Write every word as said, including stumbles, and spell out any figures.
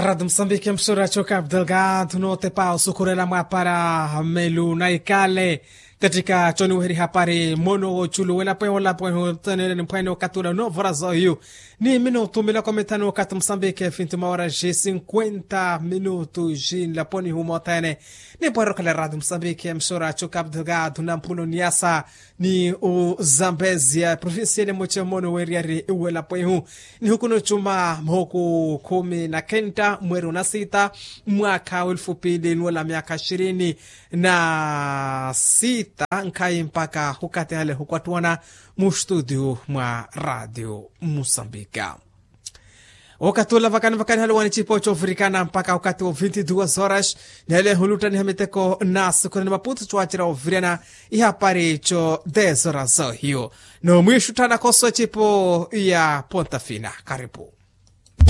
Ratu musambiki msura choka abdelgado notepa osukhurela mwapara melu na ikale. Katika choniweheri hapari mono woculu welapo eho lapo eho tanele ni mphwene okatula novorazo hiyo. Ni minutu miloko mitano kati musambiki fintu mawaraji sinkwenta minutu jinlaponi humothene. Ni pwarokhala ratu musambiki msura choka abdelgado na mpuno niasa ni uzambezia provincia ni muche mono weriyari welapo ehu. Ni hukuno chuma mhoku khumi na kenta mweri una sita mwaka wa elfu pili nuwela myaka ishirini na sita nkhayi mpaka hukatihale hukwattuwana mu studio mwa radio musambika. Okatula vakani vakani haluwani chipo chovirikana mpaka okati wa vinti duas horas. Nele huluttaniha miteko na sukura ni maputu chwachira ovirana ihapari cho dez horas ohiyo. No mwishuttana koso chipo ya pontafina karipu.